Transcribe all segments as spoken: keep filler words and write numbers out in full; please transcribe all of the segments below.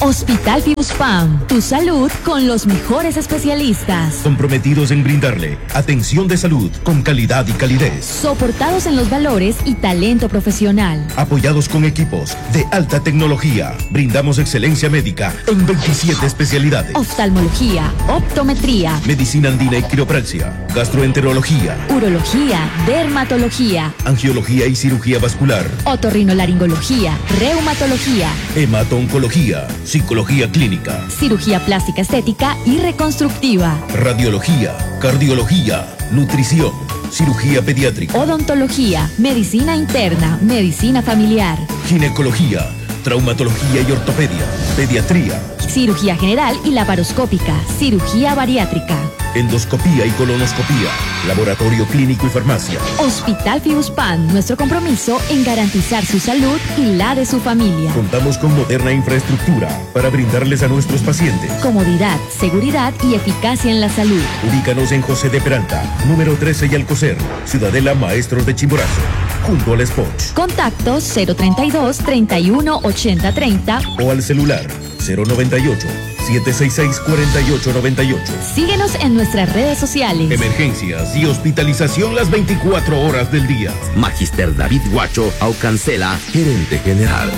Hospital Fibuspam, tu salud con los mejores especialistas. Comprometidos en brindarle atención de salud con calidad y calidez. Soportados en los valores y talento profesional. Apoyados con equipos de alta tecnología, brindamos excelencia médica en veintisiete especialidades. Oftalmología, optometría, medicina andina y quiropraxia, gastroenterología, urología, dermatología, angiología y cirugía vascular, otorrinolaringología, reumatología, hemato-oncología, psicología clínica, cirugía plástica estética y reconstructiva, radiología, cardiología, nutrición, cirugía pediátrica, odontología, medicina interna, medicina familiar, ginecología, traumatología y ortopedia, pediatría, cirugía general y laparoscópica, cirugía bariátrica, endoscopía y colonoscopía, laboratorio clínico y farmacia. Hospital Fibuspam, nuestro compromiso en garantizar su salud y la de su familia. Contamos con moderna infraestructura para brindarles a nuestros pacientes comodidad, seguridad y eficacia en la salud. Ubícanos en José de Peralta, número trece y Alcocer, Ciudadela Maestros de Chimborazo, junto al Spot. Contacto cero treinta y dos, treinta y uno, ochenta, treinta o al celular cero noventa y ocho, siete seis seis, cuarenta y ocho noventa y ocho. Síguenos en nuestras redes sociales. Emergencias y hospitalización las veinticuatro horas del día. Magister David Guacho Aucancela, gerente general.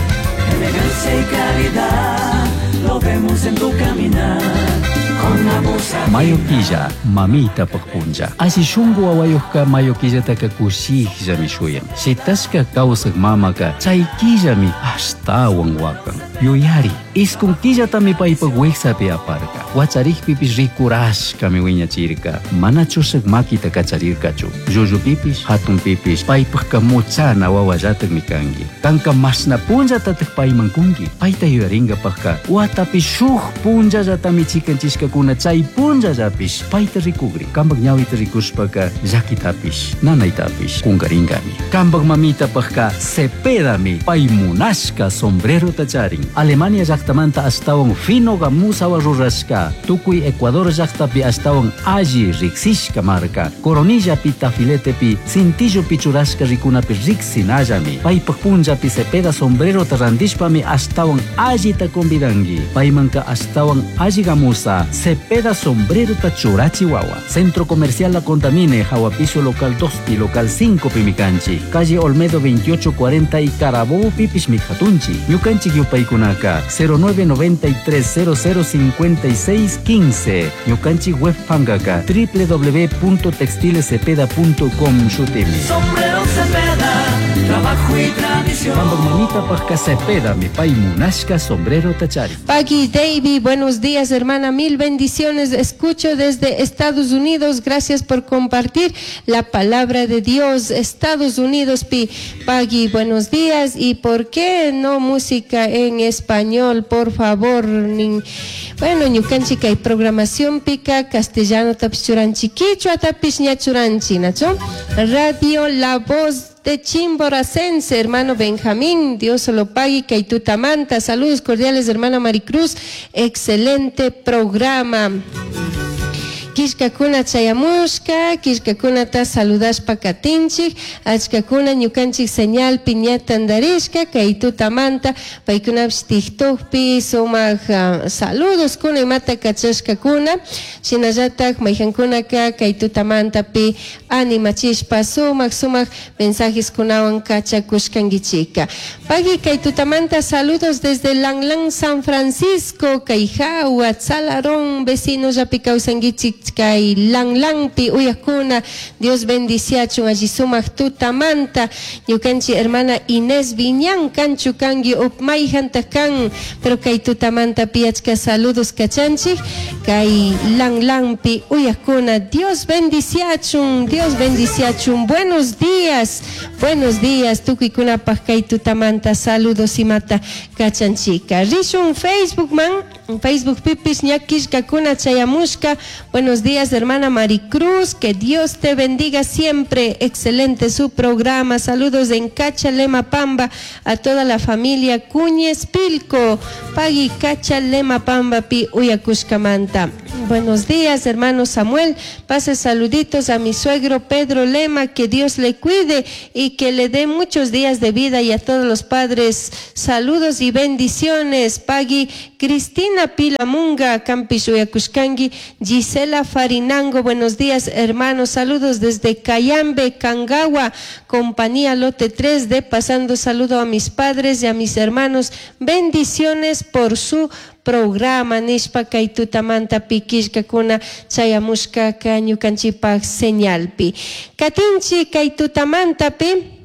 Elegancia y calidad, lo vemos en tu caminar. Mayo killa, mamita pajpuncha. Así shungu wawayuqqa mayo killataka kushikllami shuyan. Shitashka kawsaq mamaka chay killami ashtawan wakan. Yuyari, iskun killatami paypaq wiksapi aparka. Wacharikpipish rikurashkami wiñachirka. Mana chushaq makita kacharirkachu. Llullupipish, hatunpipish, paypaqqa muchana wawallataqmi kanki. Kanka mashna punllatataq payman kunki. Payta yuyaringapaqqa watapi shuk punllallatami chikanchishkakuna chay punllallapish payta rikugri. Kampak ñawita rikushpaka llakitapish, nanaytapish kunkaringami. Kampak mamitapaqqa cepedami pay munashka sombrerota charin. Alemania llaqtamanta ashtawan fino gamusawa rurashka. Tukuy Ecuador llaqtapi ashtawan alli riksishka marka. Coronillapi tafiletepi cintillopi churashka rikunapi riksinallami. Paypaq punllapi cepeda sombrerota randishpami ashtawan allita convidanki. Paymanka ashtawan alli gamusa cepeda sombrerota churachi wawa. Centro Comercial La Contamine, Jahuapiso local dos pi local cinco pimicanchi. Calle Olmedo veintiocho cuarenta y Carabobo pipish mijatunchi. Ñukanchik yupaykunaka cero nueve noventa y tres cero cero cincuenta y seis quince. Ñukanchik web pangaka doble u doble u doble u punto textiles cepeda punto com shutimi. Sombrero Cepeda, trabajo y tradición. Kampak mamita pajka Cepeda, mi pay munashka sombrero tachari. Paqui Davy, buenos días hermana, mil bendiciones. Escucho desde Estados Unidos, gracias por compartir la palabra de Dios. Estados Unidos, pi. Paqui, buenos días. ¿Y por qué no música en español, por favor? Nin, bueno, ñukanchik hay programación pica, castellano tapish churanchi, quichua tapish ña churanchi, ¿nacho? Radio La Voz de Chimboracense, hermano Benjamín, Dios lo pague, Kaitutamanta, saludos cordiales, hermana Maricruz, excelente programa. Kishkakuna chayamushka, kishkakunata saludashpa katinchik, achkakuna ñukanchik señal piñatandarishka, kaytutamanta, paykunapish TikTokpi sumak, uh, saludos kuna imata kachashkakuna, shinallatak mayhankunaka kaytutamantapi animachishpa sumak sumak mensajes kunawan kachakushkankichika. Pagui kaytutamanta saludos desde Langlán, San Francisco, Kayjawa, Tzalarón, vecinos yapi kawsankichik kay Langlánpi uyakuna, Dios bendiciachun allí sumak tutamanta, ñukanchi hermana Inés Viñán kanchu kangi upmayjanta kan, pero kay tutamanta piachka saludos kachanchik, kay Langlánpi uyakuna, Dios bendiciachun, Dios bendiciachun, buenos días, buenos días, tukuykunapaj kay tutamanta saludos imata kachanchika. Rishun Facebook man, Facebook pipis ña killkakuna chayamushka. Buenos días, hermana Maricruz, que Dios te bendiga siempre. Excelente su programa. Saludos en Cachalema Pamba a toda la familia Cuñez Pilco. Pagui Cachalema Pamba pi uyakushkamanta. Buenos días, hermano Samuel. Pase saluditos a mi suegro Pedro Lema, que Dios le cuide y que le dé muchos días de vida, y a todos los padres saludos y bendiciones. Pagui Cristina Pilamunga, kanpish uyakushkangi, Gisela Farinango, buenos días, hermanos. Saludos desde Cayambe, Cangagua, compañía Lote tres D, pasando saludo a mis padres y a mis hermanos. Bendiciones por su programa nishpa kay tutamanta killkakuna chayamushka ñukanchikpak señalpi. Katinchi kay tutamantapi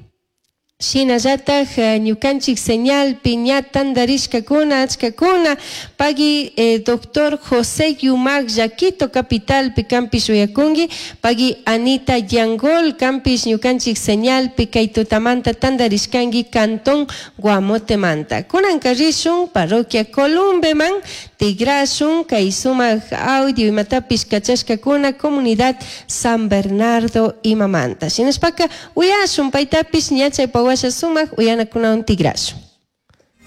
shinallataj ñukanchik señalpi ña tandarishkakuna achkakuna. Pagui eh, doctor José Yumac Quito capitalpi kanpish uyakunki. Pagui Anita Yangol kanpish ñukanchik señalpi kay tutamanta tandarishkanki cantón Guamotemanta. Kunanka rishun parroquia Columbeman tigrashun kay sumak audio imatapish kachashkakuna comunidad San Bernardo imamanta. Shinashpaka uyashun paytapish ña chay pawasha sumak uyanakunawan tigrashun.